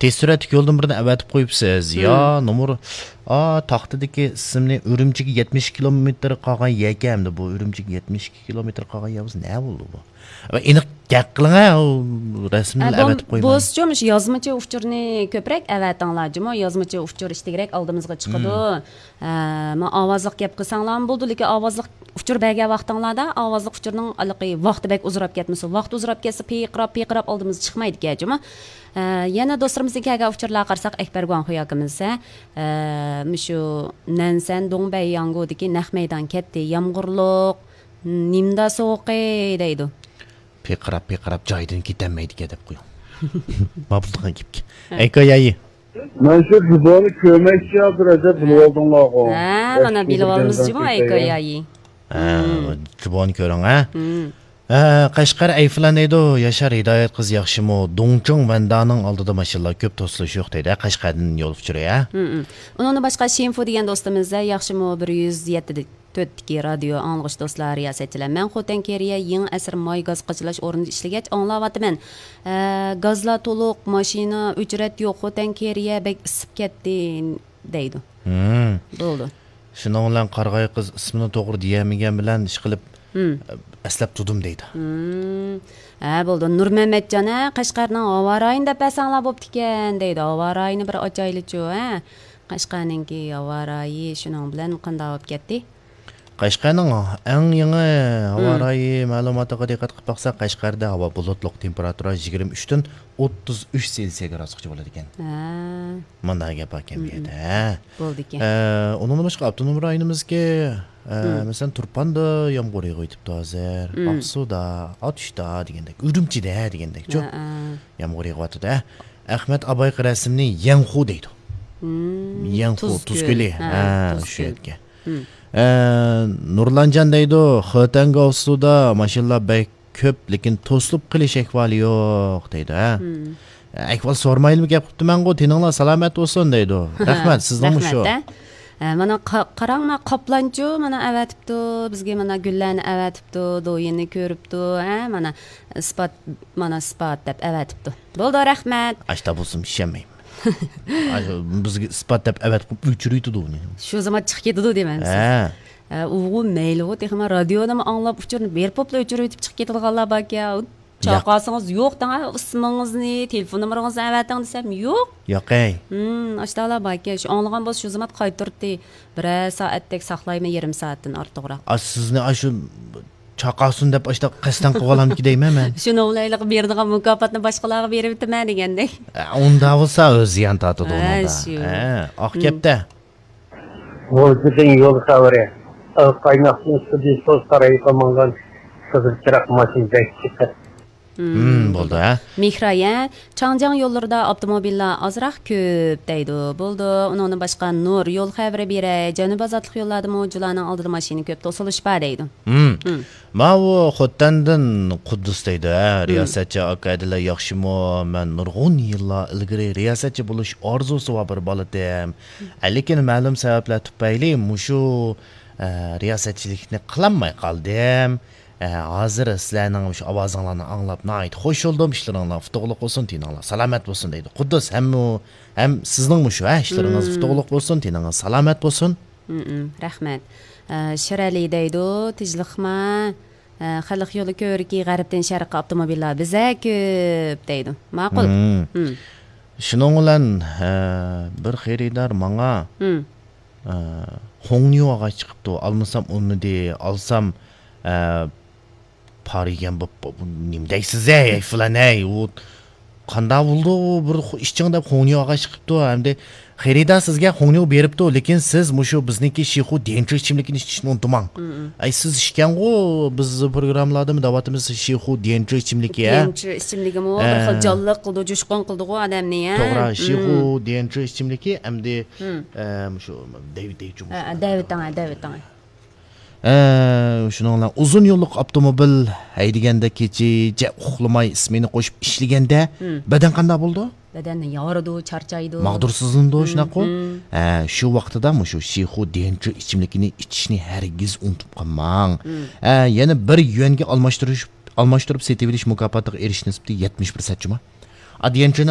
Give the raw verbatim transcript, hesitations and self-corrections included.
تېز سۈرئەتلىك يولدىن بىرنى ئەۋەتىپ قويۇپسىز. يا، نومۇر، ئا، تاختىدىكى ئىسىمنى ئۈرۈمچىگە يەتمىش كىلومېتىر قالغان يەركەن ئەمدى بۇ. ئۈرۈمچىگە يەتمىش ئىككى كىلومېتىر قالغان يەر بولسا نە بولدى بۇ؟ ئېنىق گەپ قىلىڭ ھە، ئۇ رەسىمنى ئەۋەتىپ قويماي. بولسىچۇ، مۇشۇ يازمىچە ئۇچۇرنى كۆپرەك ئەۋەتىڭلار جۇمۇ. يازمىچە ئۇچۇر ئىشتىكرەك ئالدىمىزغا چىقىدۇ. ھە، ما ئاۋازلىق گەپ قىلساڭلارمۇ بولىدۇ، لېكىن ئاۋازلىق ئۇچۇر بەرگەن ۋاقتىڭلاردا ئاۋازلىق ئۇچۇرنىڭ ھېلىقى ۋاقتى بەك ئۇزىراپ كەتمىسۇن. ۋاقتى ئۇزىراپ كەتسە، پىرقىراپ، پىرقىراپ ئالدىمىزغا چىقمايدىكەن جۇمۇ. ئە، يەنە دوستلىرىمىزدىن كەلگەن ئۇچۇرلارغا قارىساق، ئەكبەر گۇاڭخۇي ئاكىمىز، ئە، مۇشۇ نەنسەن دۇڭبەيياڭگۇدىكى نەق مەيدان كەتتى، يامغۇرلۇق، نىمدا سوغۇقى دەيدۇ. پىرقىراپ، پىرقىراپ جايىدىن كېتەلمەيدىكەن دەپ قويۇڭ. ماپۇلدىغان گەپكە. ھە. ئەيكايايى. مەن شۇ جۇبانى كۆرمەكچى ھازىر، ئەجەب بىلىۋالدىڭلارغۇ. ھە، مانا بىلىۋالدىمىز جۇمۇ، ئەيكايايى. ھە، جۇبانى كۆرۈڭ، ھە. ھە، قەشقەر ئەيفىلان دەيدۇ، ياشار ھىدايەت قىز ياخشىمۇ؟ دۇڭچۇڭ ۋەندانىڭ ئالدىدا ماشىنىلار كۆپ، توسۇلۇش يوق دەيدۇ، ھە، قەشقەردىن يول ئۇچۇرى، ھە؟ ئۇنىڭدىن باشقا شىنفۇ دېگەن دوستىمىز، ھە، ياخشىمۇ؟ بىر يۈز يەتتە تۆتتىكى رادىيو ئاڭلىغۇچى دوستلار، رىياسەتچىلەر، مەن خوتەن كېرىيە يېڭى ئەسىر ماي گاز قاچىلاش ئورنىدا ئىشلىگەچ ئاڭلاۋاتىمەن. ھە، گازلار تولۇق، ماشىنا ئۆچرەت يوق، خوتەن كېرىيە بەك ئىسسىپ كەتتى دەيدۇ. ھىم. بولدى. شۇنىڭ بىلەن قارىغاي قىز ئىسمىنى توغرا دېيەلمىگەن بىلەن ئىشقىلىپ، ھىم. ئەسلەپ تۇردۇم دەيدۇ. ھىم. ھە، بولدى. نۇرمەمەتجان، ھە، قەشقەرنىڭ ھاۋا رايىنى دەپ بەرسەڭلار بوپتىكەن دەيدۇ. ھاۋا رايىنى بىر ئاچايلىچۇ، ھە. قەشقەرنىڭكى ھاۋا رايى شۇنىڭ بىلەن قانداق بولۇپ كەتتى؟ قەشقەرنىڭ ئەڭ يېڭى ھاۋا رايى مەلۇماتىغا دىققەت قىلىپ باقساق، قەشقەردە ھاۋا بۇلۇتلۇق، تېمپېراتۇرا يىگىرمە ئۈچتىن ئوتتۇز ئۈچ سېلسىيە گرادۇسقىچە بولىدىكەن. ھە. مانداق گەپ باركەن بۇ يەردە. ھە. بولىدىكەن. ئە، ئۇنىڭدىن باشقا ئاپتونوم رايونىمىزدىكى، ئە، مەسىلەن، تۇرپاندا يامغۇر يېغىۋېتىپتۇ ھازىر. ئاقسۇدا، ئاتۇشتا دېگەندەك، ئۈرۈمچىدە دېگەندەك، شۇ يامغۇر يېغىۋاتىدۇ. ھە. ئەخمەت ئابايقى رەسىمنى يەنخۇ دەيدۇ. يەنخۇ، تۇز كۆلى. ھە، شۇ يەرگە. ئە، نۇرلانجان دەيدۇ، خېتەنگاۋسۇدا ماشىنىلار بەك كۆپ، لېكىن توسۇلۇپ قېلىش ئەھۋالى يوق دەيدۇ، ھە. ئەھۋال سورىمايلىمۇ گەپ قىپتىمەنغۇ، تېنىڭلار سالامەت بولسۇن دەيدۇ. رەھمەت، سىزنىڭمۇ شۇ. رەھمەت، ھە. ئە، مانا قا-، قاراڭ، مانا قاپلانچۇ مانا ئەۋەتىپتۇ، بىزگە مانا گۈللەرنى ئەۋەتىپتۇ، دويىنى كۆرۈپتۇ، ھە، مانا ئىسپات، مانا ئىسپات دەپ ئەۋەتىپتۇ. بولدى، رەھمەت. ئاشتا بولسۇن، ئىشەنمەيمەن. ئاشۇ بىزگە ئىسپات دەپ ئەۋەتىپ ئۆچۈرۈۋېتىدۇ ئۇنى. شۇ زامان چىقىپ كېتىدۇ دەيمەن سىز. ھە. ئە، ئۇغۇ مەيلىغۇ، تېخىمۇ رادىيونىمۇ ئاڭلاپ ئۇچۇرنى بېرىپ بوپلا ئۆچۈرۈۋېتىپ چىقىپ كېتىدىغانلار باركەن. چاقاسىڭىز يوق دەڭ، ئىسمىڭىزنى، تېلېفون نومۇرىڭىزنى ئەۋەتىڭ دېسەم يوق. ياقەي. ھىم، ئاشتالا باركەن. شۇ ئاڭلىغان بولسا شۇ زامان قايتۇرتتى. بىرەر سائەتتەك ساقلايمەن، يېرىم سائەتتىن ئارتۇقراق. ئا، سىزنى ئاشۇ چاقاسۇن دەپ ئاشتا قەستەن قىلىۋالامدىكى دەيمەن مەن. شۇنىڭ بىلەن ھېلىقى بېرىدىغان مۇكاپاتنى باشقىلارغا بېرىۋېتىمەن دېگەندەك. ئە، ئۇنداق بولسا ئۆزى زىيان تارتىدۇ ئۇنىڭدا. شۇ. ھە، ئاق گەپتە. غۇلجىدىن يول خەۋىرى. قايناقتىن سۇدىسۇ سارايغا ماڭغان قىزىل چىراغ ماشىنا بەك چىقىپ. ھىم، بولدى، ھە. مېھراي، ھە، چاڭجياڭ يوللىرىدا ئاپتوموبىللار ئازراق كۆپ دەيدۇ. بولدى. ئۇنىڭدىن باشقا نۇر يول خەۋىرى بېرەي. جەنۇبىي ئازادلىق يوللاردىمۇ جۇلانىڭ ئالدىدا ماشىنا كۆپ، توسۇلۇش بار دەيدۇ. ھىم. ماۋۇ خوتەندىن قۇددۇس دەيدۇ، ھە، رىياسەتچى ئاكا ئەدىلە ياخشىمۇ؟ مەن نۇرغۇن يىللار ئىلگىرى رىياسەتچى بولۇش ئارزۇسى بار بىر بالىتىم. ئە، لېكىن مەلۇم سەۋەبلەر تۈپەيلى مۇشۇ، ئە، رىياسەتچىلىكنى قىلالماي قالدىم. ئە، ھازىر سىلەرنىڭ مۇشۇ ئاۋازىڭلارنى ئاڭلاپ ناھايىتى خوش بولدۇم. ئىشلىرىڭلار ئۇتۇقلۇق بولسۇن، تېنىڭلار سالامەت بولسۇن دەيدۇ. قۇددۇس ھەممۇ، ھەم سىزنىڭمۇ شۇ، ھە، ئىشلىرىڭىز ئۇتۇقلۇق بولسۇن، تېنىڭىز سالامەت بولسۇن. رەھمەت. ئە، شىرئەلى دەيدۇ، تىنچلىقما؟ ئە، خەلق يولى كۆۋرۈكى غەربتىن شەرققە ئاپتوموبىللار بىزە كۆپ دەيدۇ. ماقۇل. شۇنىڭ بىلەن، ئە، بىر خېرىدار ماڭا، ئە، خۇڭنيۇ ئاغاچ چىقىپتۇ، ئالمىسام ئۇنىدى، ئالسام، ئە، پار يېگەن بوپ، بوپ، نېمە دەيسىز ھەي، ھەي، فىلان ھەي، ئۇ قانداق بولدى، ئۇ بىر خۇ-، ئىچىڭ دەپ خۇڭنيۇ ئاغاچ چىقىپتۇ، ئەمدى خېرىدار سىزگە خۇڭنيۇ بېرىپتۇ، لېكىن سىز مۇشۇ بىزنىڭكى شىخۇ ديەنچۈ ئىچىملىكىنى ئىچىشنى ئۇنتۇماڭ. ئەي، سىز ئىچكەنغۇ، بىز پروگراممىلاردىمۇ دەۋاتىمىز، شىخۇ ديەنچۈ ئىچىملىكى، ھە؟ ديەنچۈ ئىچىملىكىمۇ بىر خىل جانلىق قىلىدۇ، جۇشقۇن قىلىدىغۇ ئادەمنى، ھە؟ توغرا، شىخۇ ديەنچۈ ئىچىملىكى ئەمدى، ئە، مۇشۇ دەۋ-، دەۋچۇ، ھە، دەۋېتىڭ، ھە، دەۋېتىڭ. ئە، شۇنىڭ بىلەن ئۇزۇن يوللۇق ئاپتوموبىل ھەيدىگەندە كېچىچە ئۇخلىماي ئىسمېنا قوشۇپ ئىشلىگەندە بەدەن قانداق بولىدۇ؟ بەدەن يارىدۇ، چارچايدۇ. ماغدۇرسىزلىنىدۇ، شۇنداققۇ؟ ھە، شۇ ۋاقتىدا مۇشۇ شىخۇ ديەنچۈ ئىچىملىكىنى ئىچىشنى ھەرگىز ئۇنتۇپ قالماڭ. ھە، يەنە بىر يۈەنگە ئالماشتۇرۇش، ئالماشتۇرۇپ سېتىۋېلىش مۇكاپاتىغا ئېرىشىش نىسبىتى يەتمىش پىرسەنت جۇما. ئا، ديەنچۈنى